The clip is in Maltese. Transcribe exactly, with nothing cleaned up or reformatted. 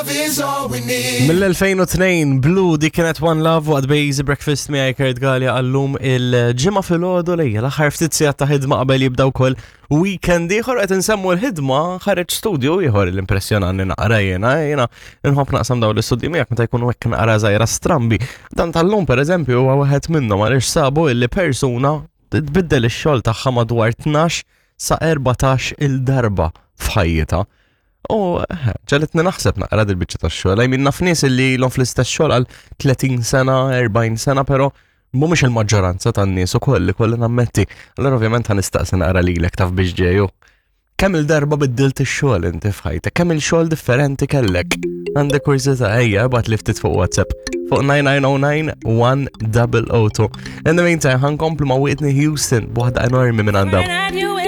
love is all we need. Mill-elfejn u tnejn Blue, di kienet One Love waqt Easy Breakfast miegħi Kurt Galea għallum il-Ġimgħa filgħodu, lejja l-aħħar ftit sigħat ta' ħidma qabel jibda wkoll weekend ieħor. Qed insemmu l-ħidma, ħareġ studju ieħor l-impressjonanni naqra jiena, jiena nħobb naqsam dawn l-istudji miegħek meta jkunu hekk naqra żgħira strambi. Dan tal-lum, pereżempju, huwa wieħed minnhom għaliex sabu illi persuna tbiddel ix-xogħol tagħha madwar tnax sa erbatax il-darba f'ħajjitha. U eh, ġegħlitni naħseb naqra dil-biċċa tax-xogħol. I mean, naf nies li ilhom fl-istess xogħol għal tletin sena, erbgħin sena, però mhumiex il-maġġoranza tan-nies ukoll li kolli nammetti. Allora ovvjament ħa nistaqsi naqra lilek taf biex ġeju. Kemm il-darba biddilt ix-xogħol inti f'ħajtek? Kemm il-xogħol differenti kellek? Għandek kurżità, ejja, ibgħat li ftit fuq WhatsApp fuq nine nine zero nine one zero zero two. In the meantime, ħa nkomplu ma' Whitney Houston b'waħda enormi minn għandha. At you